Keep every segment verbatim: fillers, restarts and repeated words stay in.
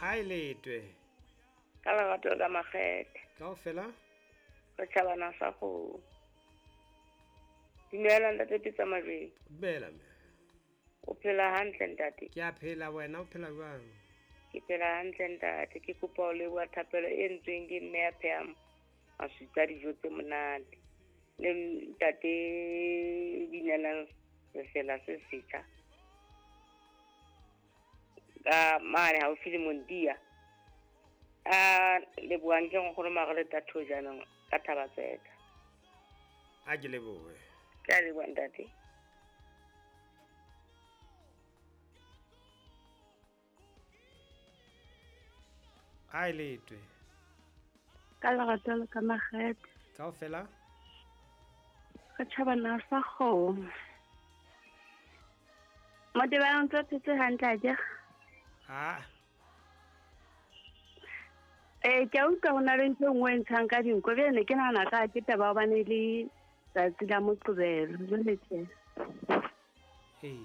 Ha e letwe. Ka lerato ka makgethe. Kaofela? Re tjhabana sa kgomo. Dumela ntate Pitsa Majweng. Dumela mme. O phela hantle ntate? Ke a phela, wena o phela jwang? Ke phela hantle ntate. Ke kopa ho leboha thapelo e entsweng ke mme ya phehang maswitsa dijo tse monate. Le ntate binelang sefela se setjha. Ka mane haufi le Mondia. A lebohang ke nkgono Marele Tatho jaanong ka Thabatseka. A ke lebohe. Ke a leboha ntate. A e letwe. Ka lerato le ka makgethe. Kaofela? Re tjhabana sa kgomo. Motebang o ntse o phetse hantle akere? Ha. Eh, ke a utlwa ho na le ntho e nngwe e ntshang ka dinko. Bjale ne ke nahana ka ke taba ya hobane le tsatsi la Moqebelo. Jwale tjhe. Ee.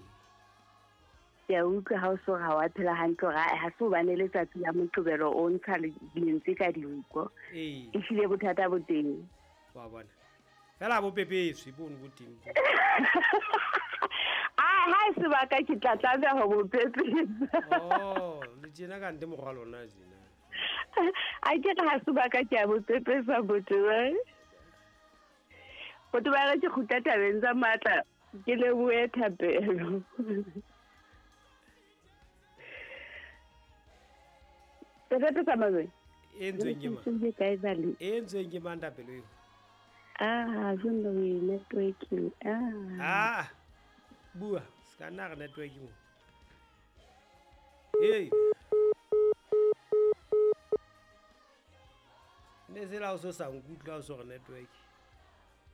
Ke a utlwa ha o so ha wa phela hantle hore ha se hobane le tsatsi la Moqebelo o ntsha lentswe ka dinko. Ee. Ehlile bothata bo teng. Wa bona. Fela bo pepeswe bono bo teng. Ah, ha e sebaka ke tla tlameha ho bo pepesa. Oh, le tjena ka nte morwa lona tjena. A ke re ha sebaka ke a bo pepesa botho ba. Botho ba re ke kgutla tabeng tsa matla ke lebohe thapelo. Tse tsa mazwe. E ntsweng ke mang? Ke kae bale? E ntsweng ke mang thapelo eo? Ah, jwang le networking. Ah. Ah. Bua, se ka nna re networking. Hey. Ne se la o so sa nkutlwa o so re network.